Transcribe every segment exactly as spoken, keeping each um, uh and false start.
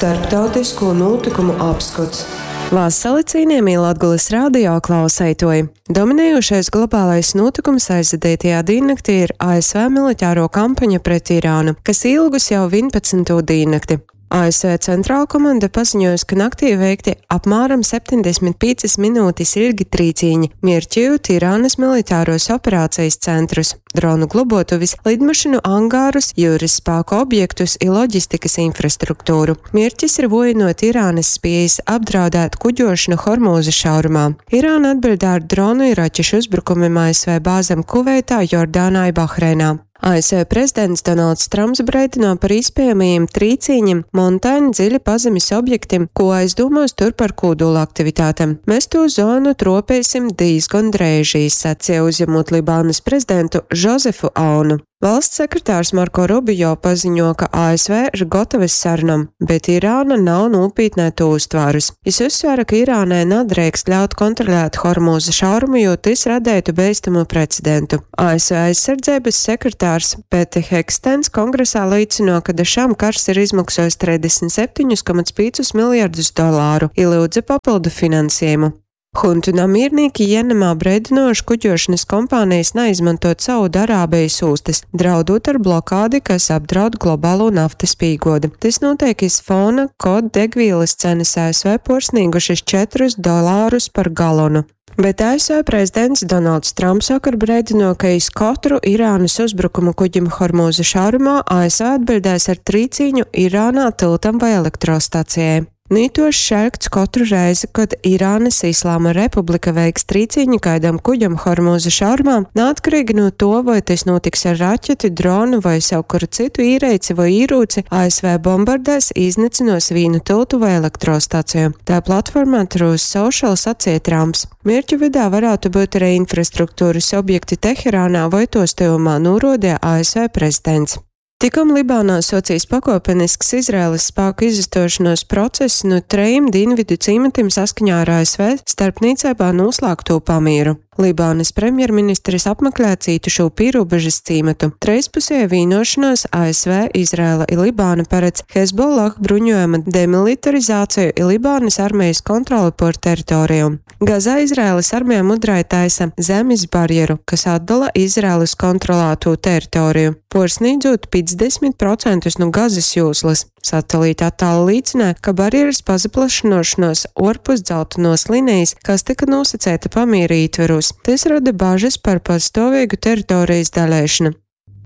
Starptautisko nūtykumu apskots. Vasali, cienījamie Latgulas radio klauseitoji! Dominējošais globālais nūtikums aizvadītajā diennaktī ir A S V militāro kampaņa pret Irānu, kas ilgus jau vienpadsmito diennakti. A S V centrālkomanda paziņojusi, ka naktī veikti apmēram septiņdesmit piecas minūtes ilgi trīcīņi, mierķējot Irānas militāros operācijas centrus, dronu globotuvis, lidmašīnu angārus, jūras spēku objektus i loģistikas infrastruktūru. Mierķis ir vojinot Irānas spējas apdraudēt kuģošanu Hormūza šaurumā. Irāna atbildē ar dronu i raķešu uzbrukumiem A S V bāzem Kuveitā, Jordānā i Bahreinā. A S V prezidents Donalds Trumps breidino par iespējamajiem trīcīņiem Montana dziļi pazemes objektiem, ko aizdūmos tur par kūdula aktivitātēm. Mēs to zonu tropēsim diezgan dreiži, sacīja, uzņemot Libānas prezidentu Žozefu Aunu. Valsts sekretārs Marko Rubio paziņo, ka A S V ir gatavas sarunam, bet Irāna nav nopietnē to uztvērus. Jis uzsvēra, ka Irānai nedrīkst ļaut kontrolēt Hormūza šaurumu, jo tas radētu bīstamu precedentu. A S V aizsardzības sekretārs Pete Hegstens kongresā liecino, ka da šam kars ir izmaksājis trīsdesmit septiņus komats piecus miljardus dolāru i lūdza papildu finansējumu. Huntu namiernieki Jemenā breidinojuši kuģošanas kompānijas neizmantot Saudarābijas ūstas, draudot ar blokādi, kas apdraud globālo naftas pīgodi. Tas notiek iz fona, kod degvielas cenas A S V porsnīgušas četrus dolārus par galonu. Bet A S V prezidents Donalds Trumps vakar breidino, ka iz katru Irānas uzbrukumu kuģim Hormūza šaurumā A S V atbildēs ar trīcīņu Irānā tiltam vai elektrostacijai. Nītošs šerkts katru reizi, kad Irānas Islāma Republika veiks trīcīņu kaidam kuģam Hormūza šaurumā, neatkarīgi no to, vai tas notiks ar raķeti, dronu vai savu kuru citu īreici vai īrūci, A S V bombardēs, iznicinos vīnu tiltu vai elektrostaciju. Tā platformā Truth Social sacīja Trumps. Mierķu vidā varētu būt arī infrastruktūras objekti Teherānā vai tos tuvumā, norodīja A S V prezidents. Tikom Libānā socijas pakopenisks Izraēlas spēku izastošanos process no trejiem dienvidu cīmatiem saskaņā ar A S V starpniecībā noslēgto pamieru. Libānas premjerministrs apmeklē cītušo pierobežas cīmatu. Treispusēja vienošanos A S V, Izraela i Libāna paredz Hezbollah bruņojuma demilitarizāciju i Libānas armijas kontroli pār teritoriju. Gazā Izraēlas armija mudrai taisa zemes barjeru, kas atdala Izraēlas kontrolēto teritoriju, porsnīdzot piecdesmit procentus no Gazas jūslas. Satelīta attēli liecināja, ka barjeras pazaplašinošanos orpus dzeltenos linijas, kas tika nosacēta pamīra ietveros. Tas rada bažas par pastāvīgu teritorijas dalēšanu.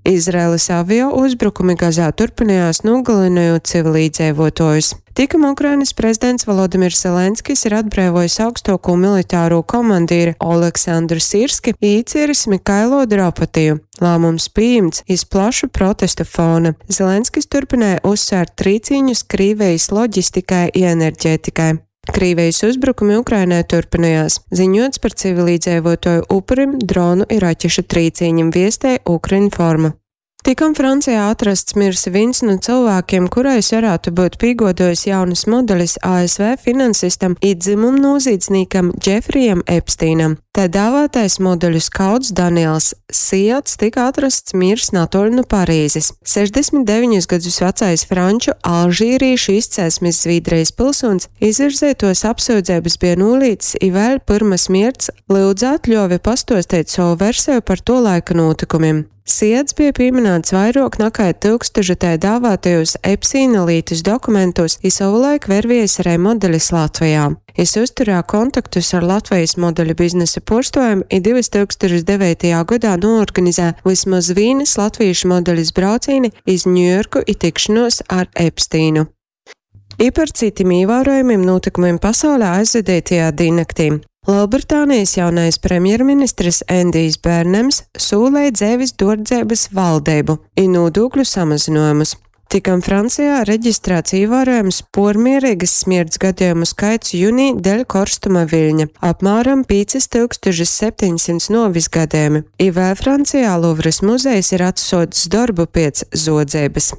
Izraēlas avio uzbrukumi Gazā turpinājās, nogalinot civilīdzīvotājus. Tikam Ukrainas prezidents Volodimirs Zelenskis ir atbrīvojis augstāko militāro komandīri Oleksandru Sirski īcieris Mikailo Drapatiju. Lēmums pieņemts iz plašu protestu fona. Zelenskis turpināja uzsvērt trīcīņus Krīvijas loģistikai i enerģētikai. Krīvijas uzbrukumi Ukrainai turpinājās. Ziņots par civilīdzīvotāju upurim, dronu i raķešu trīcīņiem, viestēja Ukrinforma. Tikom Francijā atrasts mirs viens no cilvēkiem, kurais varētu būt pīgodojis jaunas modelis A S V finansistam i dzimumu noziedzniekam Džefrijam Epstīnam. Tā dāvātais modeļu skauts Daniels Siats tika atrasts mirs netoli no Parīzes. sešdesmit deviņus gadus vecais franču alžīriešu izcelsmes Zviedrijas pilsonis izvirzētos apsūdzības bija nolīdzis i vēl pirma smirts lūdza atļovi pastostēt savu versiju par to laika notikumiem. Siets bija pieminēts vairāk nekā tūkstoša tai dāvātajos Epsīna lītas dokumentos, i savulaik vervies arī modelis Latvijā. Jis uzturēja kontaktus ar Latvijas modeļu biznesa porstojiem i divtūkstoš devītajā gadā noorganizēja vismaz vīnas latviešu modeļas braucīni iz Ņujorku i tikšanos ar Epstīnu. I par citiem ievērojumiem notikumiem pasaulē aizvadītajā diennaktī. Lielbritānijas jaunais premjerministrs Endijs Bērnems sūlēja dzēvis dordzēbas valdību i nodokļu samazinājumus. Tikam Francijā reģistrēts ievērojams pormierīgas smirts gadījumu skaits jūnī dēļ korstuma viļņa – apmēram pieci tūkstoši septiņsimt novis gadījumi. I vēl Francijā Luvras muzejs ir atsocis darbu pēc zodzības.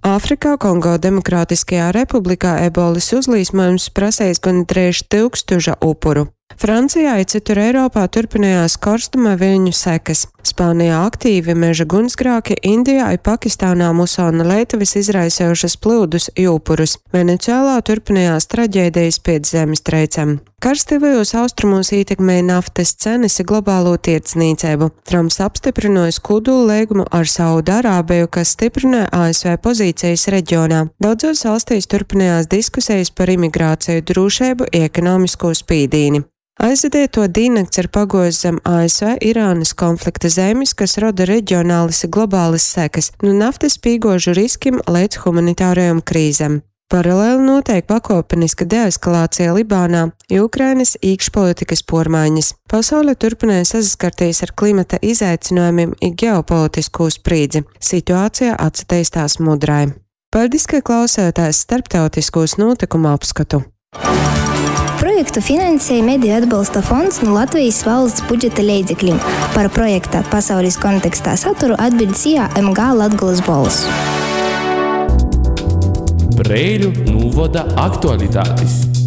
Āfrikā, Kongo Demokrātiskajā republikā ebolas uzlīsmojums prasējis gandrīz tūkstoša upuru. Francijā i cytur Eiropā turpynojās korstuma viļņu sekas. Spānijā aktīvi meža guņsgrāki, Indijā i Pakistānā musona leitavis izraisejušys plyudus i upurus. Venecuēlā turpynojās traģēdejis piec zemestreicem. Kars Tyvajūs Austrumūs ītekmēja naftys cenys i globalū tierdznīceibu. Tramps apstyprynuojs kūdūlleigumu ar Saudarābeju, kas styprynoj A S V pozīcejis regionā. Daudzuos valstīs turpynojās diskusejis par imigrāceju, drūšeibu i ekonomiskū spīdīni. Aizvadeituo dīnnakts ir paguojuse zem A S V-Irānys konflikta zeimis, kas roda regionalys i globalys sekys, nu naftys pīguožu riskim leidz humanitārajom krīzem. Paraleli nūteik pakuopeniska deeskalācija Libānā i Ukrainys īkšpolitikys puormainis. Pasaule turpynoj sasaskartīs ar klimata izaicynuojumim i geopolitiskū sprīdzi. Situācija atsateistās mudrai. Paļdis, ka klausējāties starptautiskūs nūtykumu apskotu. Projektu finansēja Mediju atbalsta fonds nu Latvejis valsts budžeta leidzeklim. Par projekta Pasaulis kontekstā saturu atbiļd S I A M G Latgolys Bolss. Preiļu nūvoda aktualitatis.